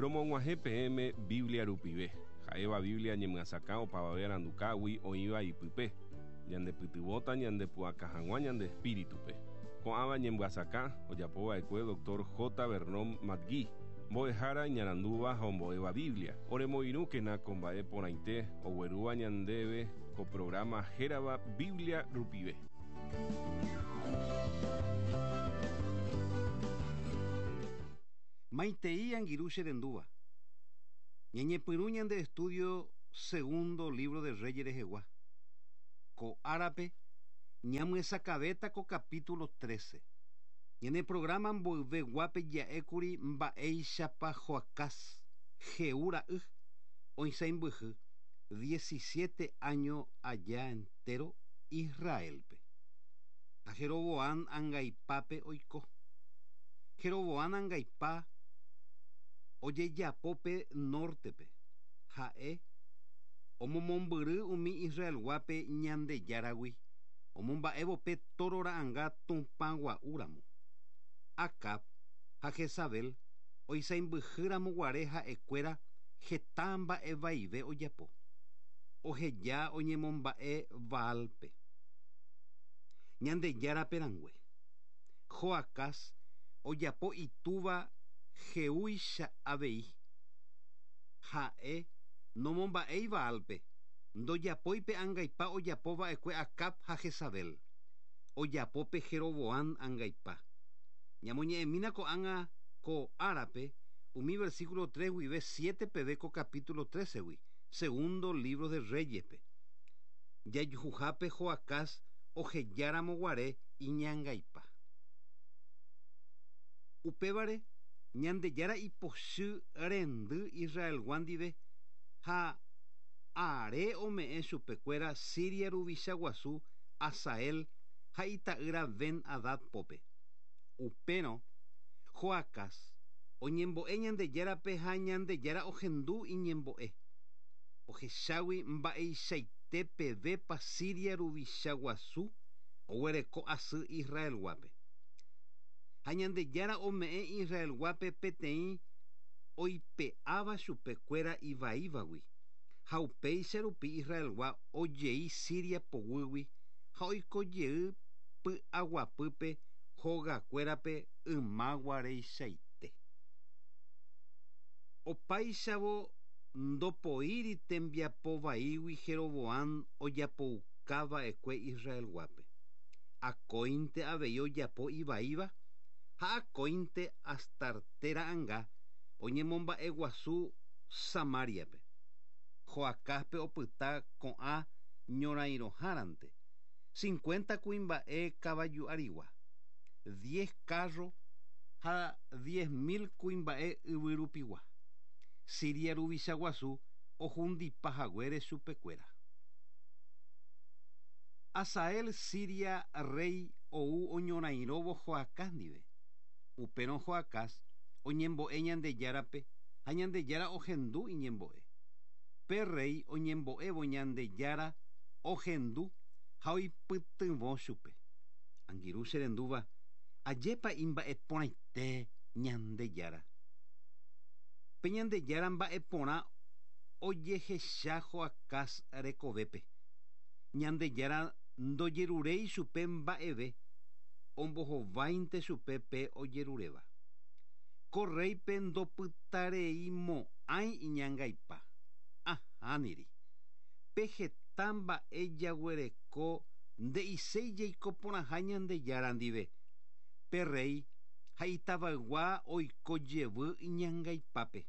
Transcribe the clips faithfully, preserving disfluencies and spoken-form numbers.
Romog̃uahẽ peẽme Biblia rupive. Ha'éva Biblia ñemyasakã opavave arandukágui oĩva ipype. Ñandepytyvõta ñandepu'aka hag̃ua ñande espíritupe. Ko'ãva ñemyasakã ojapova'ekue doctor J. Vernon McGee, mbo'ehára iñarandúva ha ombo'éva Biblia. Oremoirũkena ko mba'e porãite oguerúva ñandéve ko programa hérava Biblia rupive. Maitei angirũ che rendúva. Ñañepyrũ ñande estudio segundo libro de Reyes rehegua. Ko árape ñamyesakãvéta ko capítulo trece. Ñane programa mboyveguápe ja'ékuri mba'éichapa Joacás Jehú ra'y oisãimbyhy diecisiete año aja entero Israelpe. Ha Jeroboam angaipápe oiko. Jeroboam angaipa ojejapópe nortepe. Ha'e omomombyry umi Israelguápe Ñandejáragui omomba'évo pe toro ra'ãnga Tupãgua'úramo. Acab ha Jezabel oisãimbyhýramo guare ha'ekuéra heta mba'evaive ojapo. Oheja oñemomba'e Baalpe. Ñandejárape rãngue. Joacás ojapo itúva Jehúicha avei. Ha'e nomomba'éi Baalpe. Ndojapóipe angaipa ojapova'ekue Acab ha Jezabel. Ojapópe Jeroboam angaipa. Ñamoñe'ẽmína ko'ág̃a ko árape umi versículo tres guive siete peve ko capítulo trece-gui, segundo libro de Reyespe. Jajuhuhápe Joacás ohejáramo guare iñangaipa. Upévare Ñandejára ipochy rendy Israelgua ndive ha are ome'ẽ chupekuéra Siria ruvicha guasu Hazael ha ita'ýra Ben-Hadad pópe. Upérõ Joacás oñembo'e Ñandejárape ha Ñandejára ohendu iñembo'e. Ohechágui mba'eichaite pevépa Siria ruvicha guasu oguereko asy Israelguápe. Ha Ñandejára ome'ẽ Israelguápe peteĩ oipe'áva chupekuéra ivaívagui. Ha upéicha rupi Israelgua ojei Siria poguýgui ha oikojey py'aguapýpe hogakuérape ymaguareichaite. Opáichavo ndopoíri tembiapovaígui Jeroboam ojapoukava'ekue Israelguápe. Akóinte avei ojapo ivaíva ha akóinte Astarte ra'ãnga oñemomba'eguasu Samariape. Joacáspe opyta ko'ã ñorairõhárante. Cincuenta kuimba'e kavaju arigua, diez carro ha diez mil kuimba'e yvyrupigua. Siria ruvicha guasu ohundipa haguére chupekuéra. Hazael Siria rey ou oñorairõvo Joacás ndive. Upérõ Joacás oñembo'e Ñandejárape ha Ñandejára ohendu iñembo'e. Pe rey oñembo'évo Ñandejára ohendu ha oipytyvõ chupe. Angirũ che rendúva ajépa imba'eporãite Ñandejára. Pe Ñandejára mba'eporã ojehecha Joacás rekovépe. Ñandejára ndojeruréi chupe mba'eve ombohováinte chupe pe ojeruréva. Ko reype ndopytareimo'ãi iñangaipa. Ahániri. Pe heta mba'e jaguereko nde'iséi jaikoporãha Ñandejára ndive. Pe rey ha itavaygua oiko jevy iñangaipápe.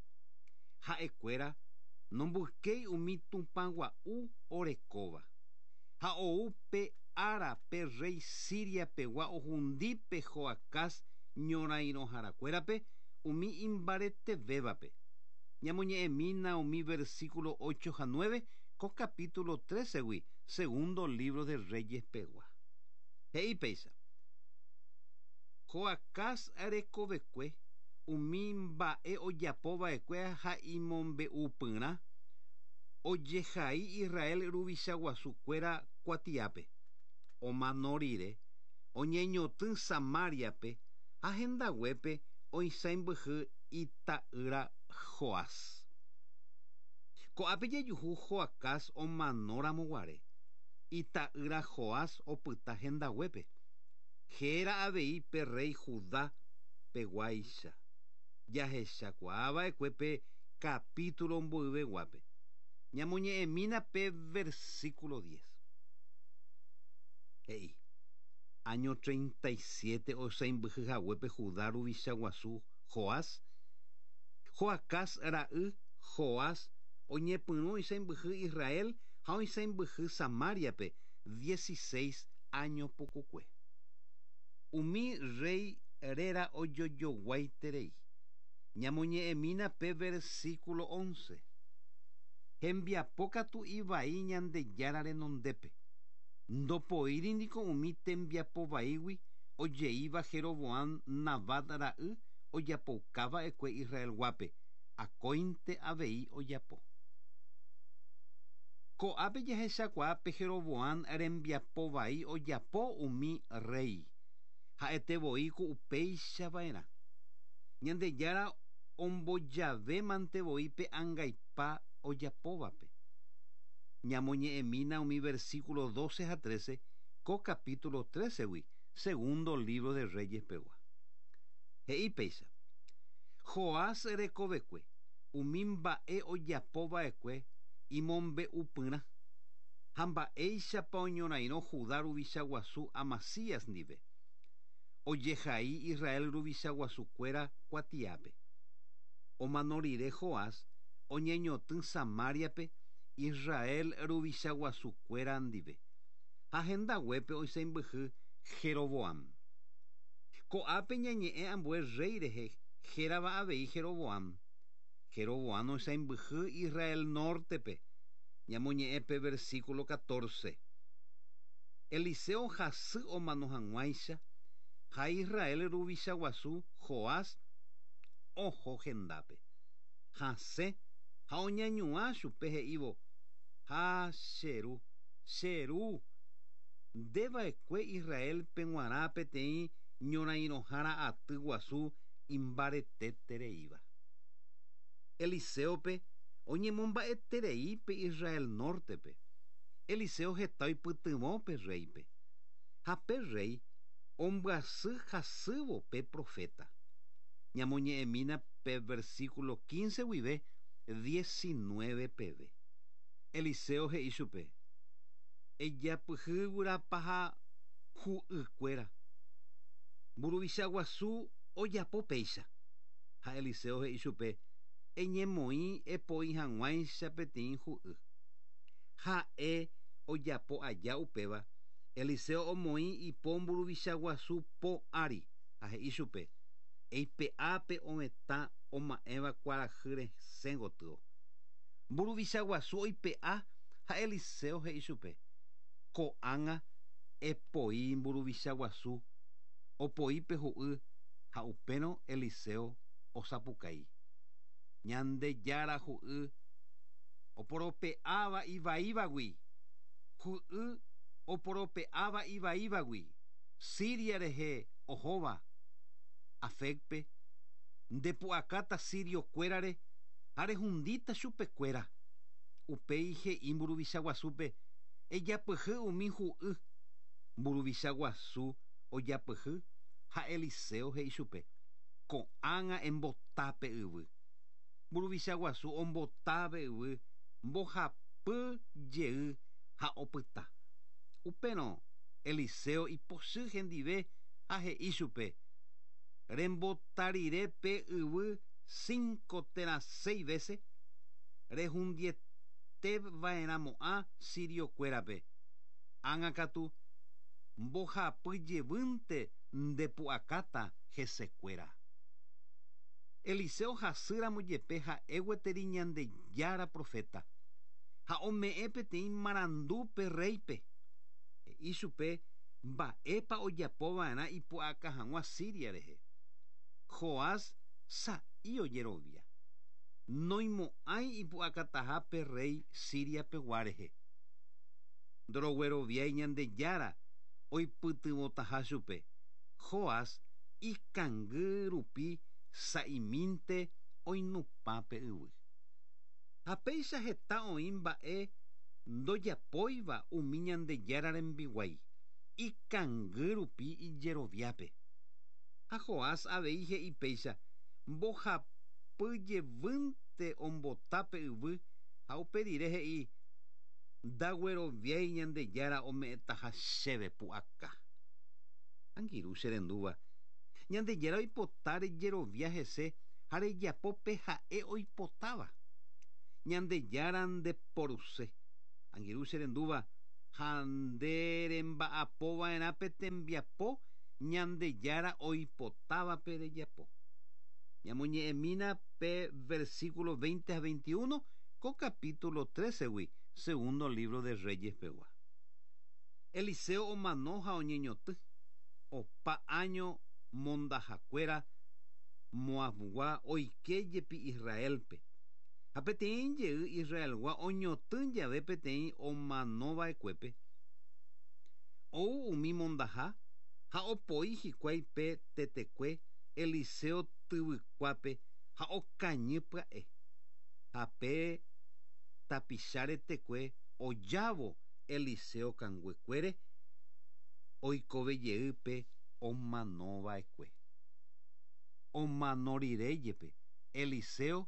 Ha'ekuéra nomboykéi umi Tupãgua'u orekóva. Ha ou pe ára pe rey Siria pegua ohundípe Joacás ñorairõharakuérape umi imbaretevévape. Ñamoñe'ẽmína umi versículo ocho ha nueve ko capítulo trece-gui, segundo libro de Reyes pegua. He'i péicha. Joacás rekovekue umi mba'e ojapova'ekue ha imombe'upyrã ojehai Israel ruvicha guasukuéra kuatiápe. Omano rire oñeñotỹ Samariape ha hendaguépe oisãimbyhy ita'ýra Joás. Ko'ápe jejuhu Joacás omanóramoguare. Ita'ýra Joás opyta hendaguépe. Héra avei pe rey Judá peguáicha. Jahechakuaava'ekue pe capítulo mboyveguápe. Ñamoñe'ẽmína pe versículo diez. He'i. Año treinta y siete osaimbyhyhaguépe Judá ruvicha guasu Joás. Joacás ra'y Joás oñepyrũ oisaimbyhy Israel ha oisaimbyhy Samariape dieciséis años pukukue. Umi rey réra ojojoguaiterei. Ñamoñe'ẽmína pe versículo once. Hembiapo katu ivai Ñandejára renondépe. Ndopoíri niko umi tembiapo vaígui ojeíva Jeroboam Nabat ra'y ojapoukava'ekue Israelguápe, akóinte avei ojapo. Ko'ápe jahechakuaa pe Jeroboam rembiapo vai ojapo umi rey. Ha'ete voi ku upéichava'erã. Ñandejára ombojavémante voi pe angaipa ojapóvape. Ñamoñe'ẽmína umi versículo doce ha trece ko capítulo trece-gui, segundo libro de Reyes pegua. He'i péicha. Joás rekovekue, umi mba'e ojapova'ekue imombe'upyrã. Ha mba'éichapa oñorairõ Judá ruvicha guasu Amasías ndive. Ojehai Israel ruvicha guasukuéra kuatiápe. Omano rire Joás oñeñotỹ Samariape Israel ruvicha guasukuéra ndive. Ha hendaguépe oisaimbyhy Jeroboam. Ko'ápe ñañe'ẽ ambue rey rehe hérava avei Jeroboam. Jeroboam oisaimbyhy Israel nortepe. Ñamoñe'ẽ pe versículo catorce. Eliseo hasy omano hag̃uáicha ha Israel ruvicha guasu Joás oho hendápe. Hasẽ ha oñañuã chupe he'ívo: Ha che ru, che ru, ndeva'ekue Israelpe g̃uarã peteĩ ñorairõhára aty guasu imbaretetereíva. Eliseope oñemomba'eterei pe Israel nortepe. Eliseo heta oipytyvõ pe reype. Ha pe rey ombyasy hasývo pe profeta. Ñamoñe'ẽmína pe versículo quince guive diecinueve peve. Eliseo he'i chupe: Ejapyhy guyrapaha hu'ykuéra. Mburuvicha guasu ojapo péicha. Ha Eliseo he'i chupe: Eñemoĩ epoi hag̃uáicha peteĩ hu'y. Ha'e ojapo aja upéva, Eliseo omoĩ ipo mburuvicha guasu po ári ha he'i chupe: Eipe'ápe ovetã oma'ẽva kuarahy resẽ gotyo. Mburuvicha guasu oipe'a ha Eliseo he'i chupe: Ko'ág̃a epoi mburuvicha guasu, opoi pe hu'y ha upérõ Eliseo osapukái. Ñandejára hu'y oporope'áva ivaívagui. Hu'y oporope'áva ivaívagui. Siria rehe ohóva. Afecpe ndepu'akáta siriokuérare ha rehundíta chupekuéra. Upéi he'i mburuvicha guasúpe: Ejapyhy umi hu'y. Mburuvicha guasu ojapyhy ha Eliseo he'i chupe: Ko'ág̃a embotápe yvy. Mburuvicha guasu ombotápe yvy mbohapy jey ha opyta. Upérõ Eliseo ipochy hendive ha he'i chupe: Rembota rire pe yvy cinco térã seis veces, rehundieteva'erãmo'ã siriokuérape. Ág̃a katu mbohapy jevýnte ndepu'akáta hesekuéra. Eliseo hasýramo jepe ha'e gueteri Ñandejára profeta. Ha ome'ẽ peteĩ marandu pe reype. He'i chupe mba'épa ojapova'erã ipu'aka hag̃ua Siria rehe. Joás sa'i ojerovia. Noimo'ãi ipu'akataha pe rey Siria pegua rehe. Ndorogueroviái Ñandejára oipytyvõtaha chupe. Joás ikangy rupi sa'imínte oinupã pe yvy. Ha péicha heta oĩ mba'e ndojapóiva umi Ñandejára rembiguái ikangy rupi ijeroviápe. Ha Joás avei he'i péicha mbohapy jevýnte ombota pe yvy ha upe rire he'i ndagueroviái Ñandejára ome'ẽtaha chéve pu'aka. Angirũ cherendúva Ñandejára oipota rejerovia hese ha rejapo pe ha'e oipotáva. Ñandejára ndeporuse. Angirũ cherendúva ha nde remba'apova'erã pe tembiapo Ñandejára oipotávape rejapo. Ñamoñe'ẽmína pe versículo veinte ha veintiuno ko capítulo trece-gui, segundo libro de Reyes pegua. Eliseo omano ha oñeñoty opa año mondahakuéra Moabgua oike jepi Israelpe. Ha peteĩ jey Israelgua oñoty jave peteĩ omanova'ekuépe. Ou umi mondaha ha opoi hikuái pe tetekue Eliseo tyvykuápe ha okañy pya'e. Ha pe tapicha retekue ojávo Eliseo kanguekuére oikove jey pe omanova'ekue. Omano rire jepe Eliseo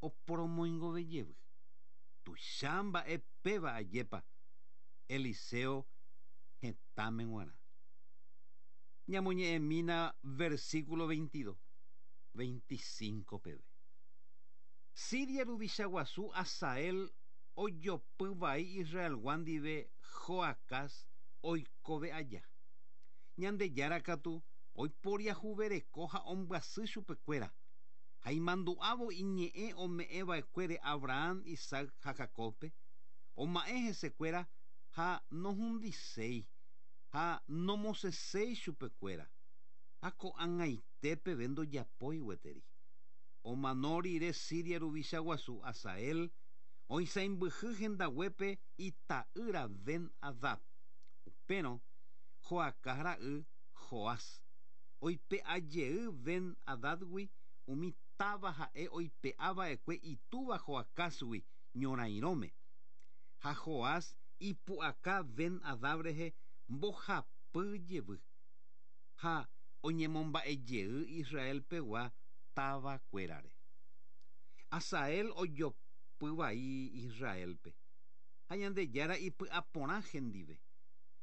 oporomoingove jevy. Tuicha mba'e péva ajépa Eliseo hetãme g̃uarã. Ñamoñe'ẽmína versículo veintidós, veinticinco peve. Siria ruvicha guasu Hazael ojopy vai Israelgua ndive Joacás oikove aja. Ñandejára katu oiporiahuvereko ha ombyasy chupekuéra. Ha imandu'ávo iñe'ẽ ome'ẽva'ekuére Abraham, Isaac ha Jacobpe, oma'ẽ hesekuéra ha nohundiséi ha nomosẽséi chupekuéra. Ha ko'ag̃aite peve ndojapói gueteri. Omano rire Siria ruvicha guasu Hazael oisãimbyhy hendaguépe ita'ýra Ben-Hadad. Upérõ Joacás ra'y Joás oipe'a jey Ben-Hadadgui umi táva ha'e oipe'ava'ekue itúva Joacásgui ñorairõme. Ha Joás ipu'aka Ben-Hadad rehe mbohapy jevy. Ha oñemomba'e jey Israel pegua távakuérare. Hazael ojopy vai Israelpe. Ha Ñandejára ipy'aporã hendive.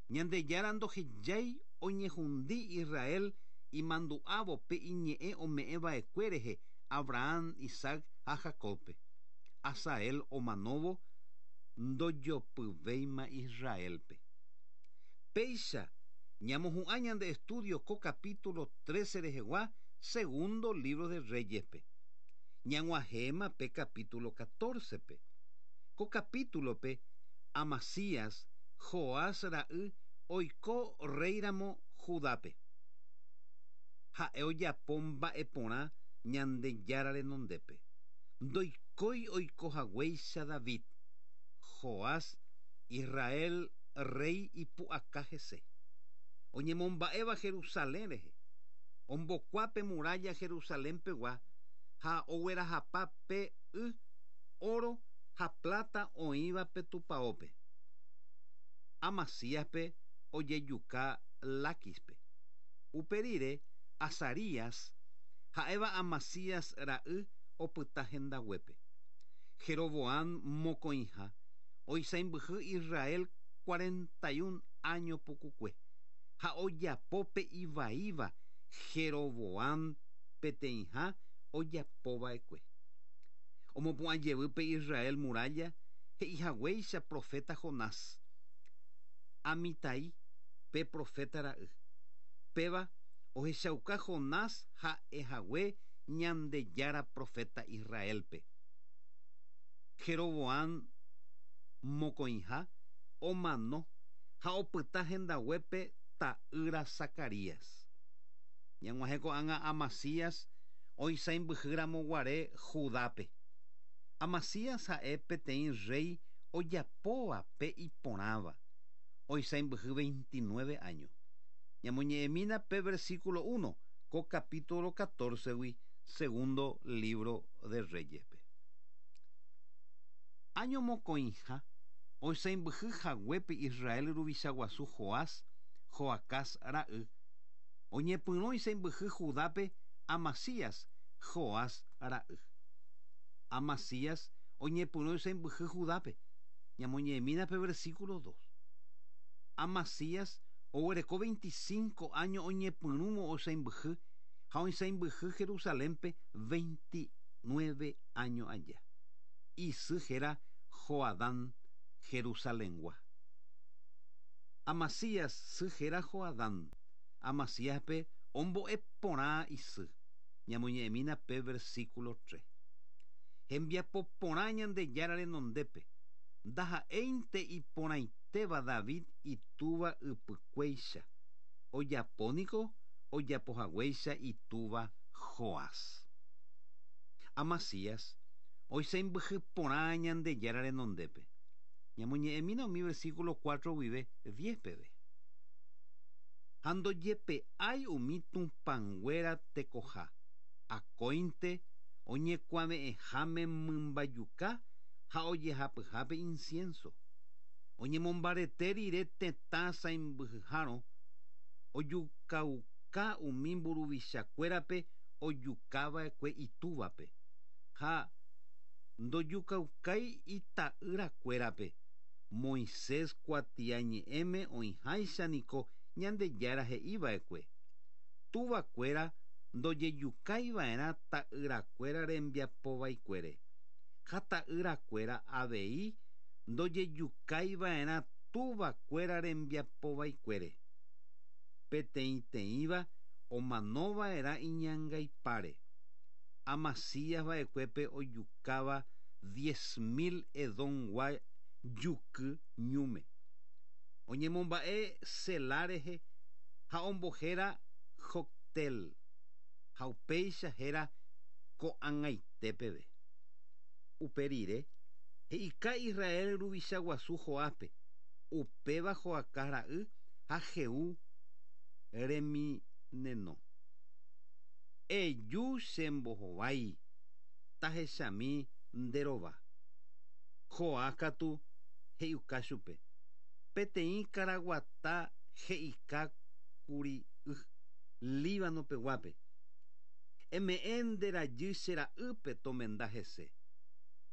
Ñandejára ndohejái oñehundi Israel imandu'ávo pe iñe'ẽ ome'ẽva'ekue rehe Abraham, Isaac ha Jacobpe. Hazael omanóvo ndojopyvéima Israelpe. Péicha ñamohu'ã ñande estudio ko capítulo trece rehegua segundo libro de Reyespe. Ñag̃uahẽma pe capítulo catorce-pe. Ko capítulo-pe Amasías, Joás ra'y oiko réiramo Judápe. Ha'e ojapo mba'e porã Ñandejára renondépe. Ndoikói oiko haguéicha David. Joás, Israel rey ipu'aka hese. Oñemomba'éva Jerusalén rehe. Ombokuápe muralla Jerusalén pegua ha oguerahapa pe y oro ha plata oĩva pe tupaópe. Amasíaspe ojejuka Laquispe. Upe rire Azarías ha'éva Amasías ra'y opyta hendaguépe. Jeroboam mokõiha oisãimbyhy Israel cuarenta y un año pukukue. Ha ojapo pe ivaíva Jeroboam peteĩha ojapova'ekue. Omopu'ã jevy pe Israel muralla he'ihaguéicha profeta Jonás. Amitai pe profeta ra'y. Péva ohechauka Jonás ha'ehague Ñandejára profeta Israelpe. Jeroboam mokõiha omano ha opyta hendaguépe ta'ýra Zacarías. Ñag̃uahẽ ko'ág̃a Amasías oisãimbyhýramo guare Judápe. Amasías ha'e peteĩ rey ojapóva pe iporãva. Oisãimbyhy veintinueve años. Ñamoñe'ẽmína pe versículo uno ko capítulo catorce-gui, Segundo libro de Reyes. Año mokõiha oisãmbyhy haguépe Israel ruvicha guasu Joás, Joacás ra'y. Oñepyrũ oisãmbyhy Judápe Amasías, Joás ra'y. Amasías oñepyrũ oisãmbyhy Judápe. Ñamoñe'ẽmína pe versículo dos. Amasías oguereko veinticinco años oñepyrũvo oisãmbyhy ha oisãmbyhy Jerusalénpe veintinueve años aja. Isy héra Joadán Jerusalengua. Amasías sy héra Joadán. Amasíaspe ombo'e porã isy. Ñamoñe'ẽmína pe versículo tres. Hembiapo porã Ñandejára renondépe. Ndaha'éinte iporãitéva David itúva ypykuéicha. Ojapóniko ojapohaguéicha itúva Joás. Amasías oisãmbyhy porã Ñandejára renondépe. Ñamoñe'ẽmína umi versículo cuatro guive diez peve. Ha ndojepe'ái umi tupãnguéra tekoha. Akóinte oñekuave'ẽháme mymbajuka ha ojehapyhápe incienso. Oñemombarete rire tetã sãmbyhyhárõ ojukauka umi mburuvichakuérape ojukava'ekue itúvape. Ha ndojukaukái ita'yrakuérape. Moisés kuatiañe'ẽme oĩháicha niko Ñandejára he'iva'ekue. Tuvakuéra ndojejukaiva'erã ta'yrakuéra rembiapovaikuére. Ha ta'yrakuéra avei ndojejukaiva'erã tuvakuéra rembiapovaikuére. Peteĩteĩva omanova'erã iñangaipáre. Amasías va'ekuépe ojukáva diez mil Edomgua juky ñúme. Oñemomba'e Selá rehe ha ombohéra Joctel. Ha upéicha héra ko'ag̃aite peve. Upe rire he'ika Israel ruvicha guasu Joáspe, upéva Joacás ra'y ha Jehú remineno. Eju chembohovái tahechami nderova. Joás katu he'iuka chupe. Peteĩ karaguata he'ika kuri'y Líbano peguápe. Eme'ẽ nde rajy che ra'ýpe tomenda hese.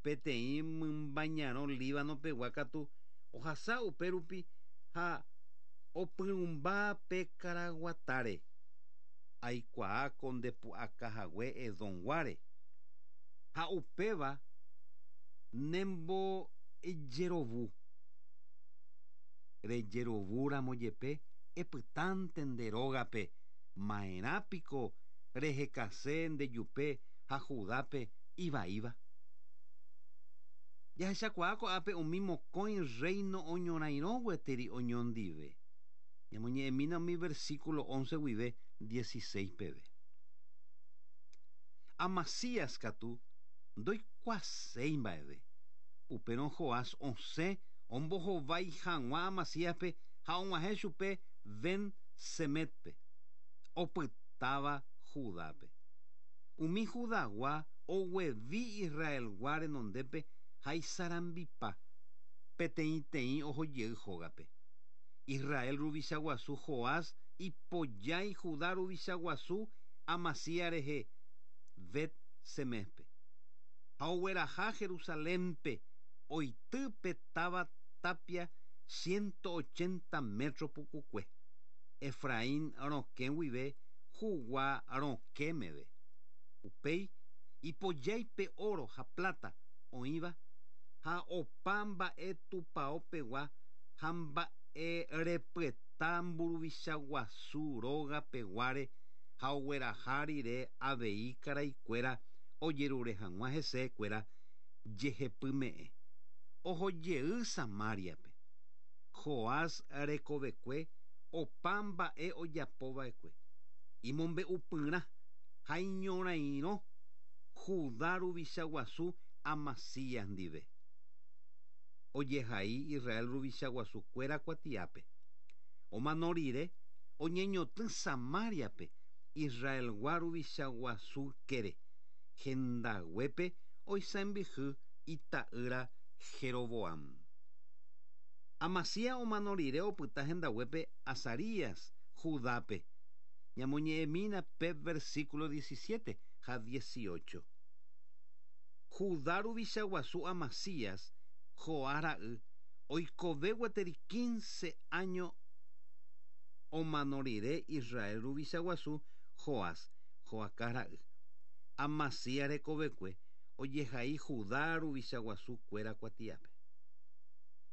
Peteĩ mymbañarõ Líbano pegua katu ohasa upérupi ha opyrũmba pe karaguatáre. Aikuaáko ndepu'akahague Edomguáre. Ha upéva nembojerovu. Rejerovúramo jepe epytánte nde rógape ma'erãpiko rehekase ndejupe ha Judápe ivaíva. Jahechakuaa ko'ápe umi mokõi reino oñorairõ gueteri oñondive. Ñamoñe'ẽmína umi versículo once guive dieciséis peve. Amasías katu ndoikuaaséi mba'eve. Upérõ Joás osẽ ombohovái hag̃ua Amasíaspe ha og̃uahẽ chupe Ben-Semetpe, opytáva Judápe. Umi Judagua oguevi Israelgua renondépe ha isarambipa peteĩteĩ ohojey hógape. Israel ruvicha guasu Joás ipojái Judá ruvicha guasu Amasías rehe Bet-Semespe. Ha ogueraha Jerusalénpe oitýpe táva tapia ciento ochenta metro pukukue. Efraín rokẽ guive Jugua rokẽ meve. Upéi ipojáipe oro ha plata oĩva ha opa mba'e tupãopegua ha mba'e repyeta mburuvicha guasu róga peguáre ha ogueraha rire avei karaikuéra ojerure hag̃ua hesekuéra jehepyme'ẽ. Ohojey Samáriape. Joás rekovekue opa mba'e ojapova'ekue. Imombe'upyrã ha iñorairõ Judá ruvicha guasu Amasías ndive. Ojehai Israel ruvicha guasukuéra kuatiápe. Omano rire oñeñotỹ Samáriape Israelgua ruvicha guasu kére. Hendaguépe oisãmbyhy ita'ýra Jeroboam. Amasías omano rire opyta hendaguépe Azarías Judápe. Ñamoñe'ẽmína pe versículo diecisiete ha dieciocho. Judá ruvicha guasu Amasías Joás ra'y oikove gueteri quince años omano rire Israel ruvicha guasu Joás Joacás ra'y. Amasías rekovekue ojehai Judá ruvicha guasu kuéra kuatiápe.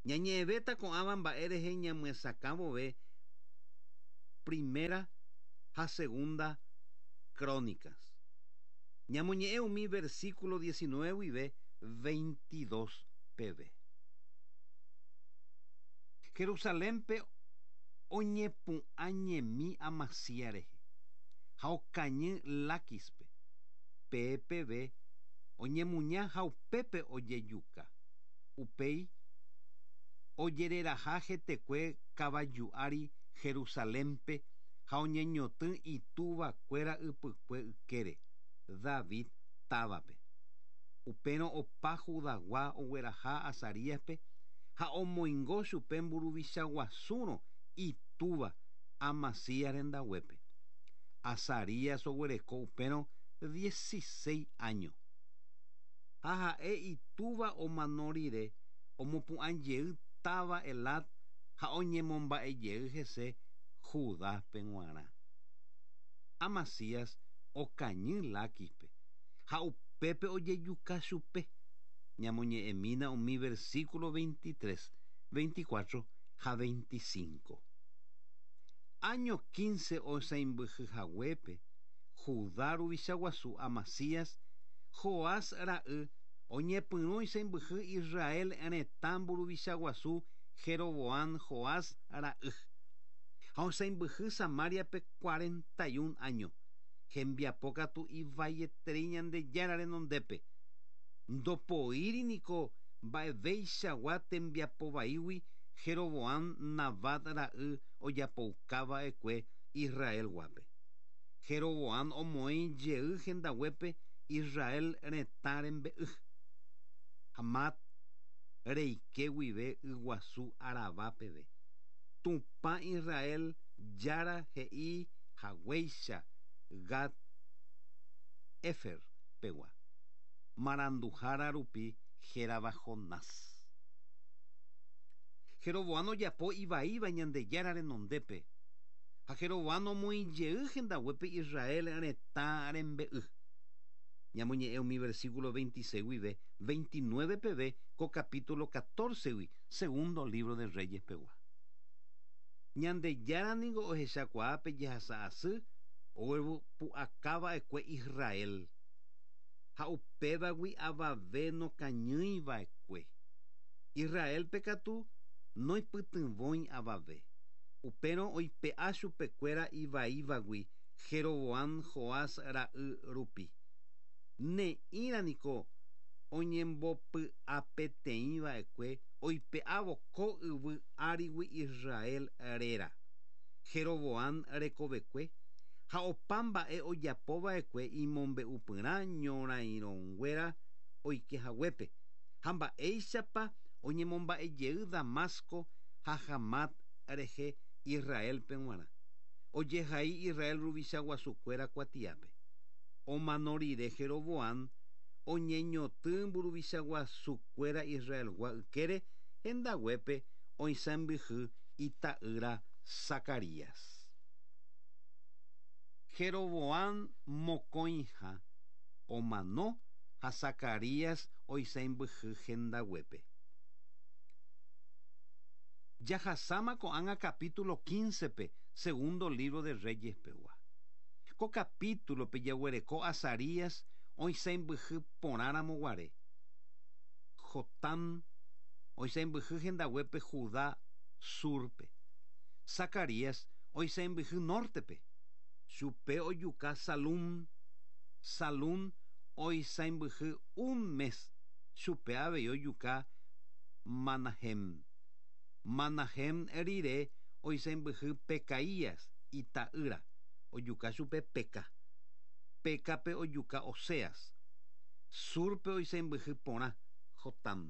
Ñañe'ẽvéta ko'ãva mba'e rehe ñamyesakã vove primera ha segunda Crónicas. Ñamoñe'ẽ umi versículo diecinueve guive veintidós peve. Jerusalénpe oñepu'ãñemi Amasías rehe ha okañy Láquispe. P P V oñemuña ha upépe ojejuka. Upéi ojereraha hetekue kavaju ári Jerusalénpe ha oñeñotỹ itúvakuéra ypykue ykére David távape. Upérõ opa Judagua ogueraha Azaríaspe ha omoingo chupe mburuvicha guasúrõ itúva Amasías rendaguépe. Azarías oguereko upérõ dieciséis años. Ha ha'e itúva omano rire omopu'ãjey táva Elat ha oñemomba'ejey hese Judápe g̃uarã. Amasías okañy Láquispe ha upépe ojejuka chupe. Ñamoñe'ẽmína umi versículo veintitrés, veinticuatro ha veinticinco. Año quince oisãmbyhyhaguépe Judá ruvicha guasu Amasías Joás ra'y oñepyrũ oisãmbyhy Israel retã mburuvicha guasu Jeroboam Joás ra'y. Ha oisãmbyhy Samariape cuarenta y un años. Hembiapo katu ivaieterei Ñandejára renondépe. Ndopoíri niko mba'eveichagua tembiapovaígui Jeroboam Nabat ra'y ojapoukava'ekue Israelguápe. Jeroboam omoĩ jey hendaguépe Israel retã rembe'y. Hamat reike guive yguasu Arabá peve. Tupã Israel jára he'i haguéicha Gad Hefer pegua. Maranduhára rupi hérava Jonás. Jeroboam ojapo ivaíva Ñandejára renondépe. Ha Jeroboam omoĩ jey hendaguépe Israel retã rembe'y. Ñamoñe'ẽ umi versículo veintiséis guive veintinueve peve ko capítulo catorce gui segundo libro de Reyes pegua. Ñandejára niko ohechakuaa jehasa asy ogueropu'akava'ekue Israel. Ha upévagui avave nokañýiva'ekue. Israelpe katu noipytyvõi avave. Upérõ oipe'a chupekuéra ivaívagui Jeroboam Joás ra'y rupi. Ne'ĩra niko oñembopy'apeteĩva'ekue oipe'ávo ko yvy árigui Israel réra. Jeroboam rekovekue ha opa mba'e ojapova'ekue imombe'upyrã ñorairõnguéra oikehaguépe ha mba'éichapa oñemomba'ejey Damasco ha Hamat rehe Israelpe g̃uarã. Ojehai Israel ruvicha guasukuéra kuatiápe. Omano rire Jeroboam oñeñotỹ mburuvicha guasukuéra Israelgua ykére hendaguépe oisãmbyhy ita'ýra Zacarías. Jeroboam mokõiha omano ha Zacarías oisãmbyhy hendaguépe. Jahasáma ko'ág̃a capítulo quince pe segundo libro de Reyes pegua. Ko capítulo pe jaguereko Azarías oisãmbyhy porãramo guare. Jotam oisãmbyhy hendaguépe Judá surpe. Zacarías oisãmbyhy nortepe. Chupe ojuka Salum. Salum oisãmbyhy un mes. Chupe avei ojuka Manahem. Manahem rire oisãmbyhy Pecaías ita'ýra. Ojuka chupe Peca. Pecape ojuka Oseas. Surpe oisãmbyhy porã Jotam.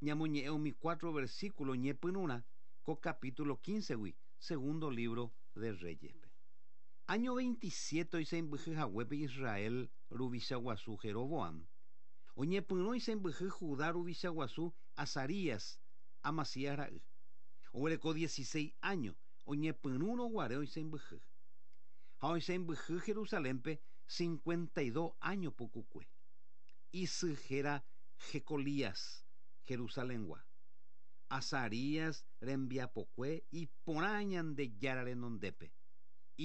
Ñamoñe'ẽ umi cuatro versículo ñepyrũrã ko capítulo quince-gui, segundo libro de Reyes-pe. Año veintisiete oisãmbyhy haguépe Israel ruvicha guasu Jeroboam. Oñepyrũ oisãmbyhy Judá ruvicha guasu Azarías, Amasías ra'y. Oguereko dieciséis años oñepyrũrõ guare oisãmbyhy. Ha oisãmbyhy Jerusalénpe cincuenta y dos años pukukue. Isy héra Jecolías, Jerusalengua. Azarías rembiapokue iporã Ñandejára renondépe.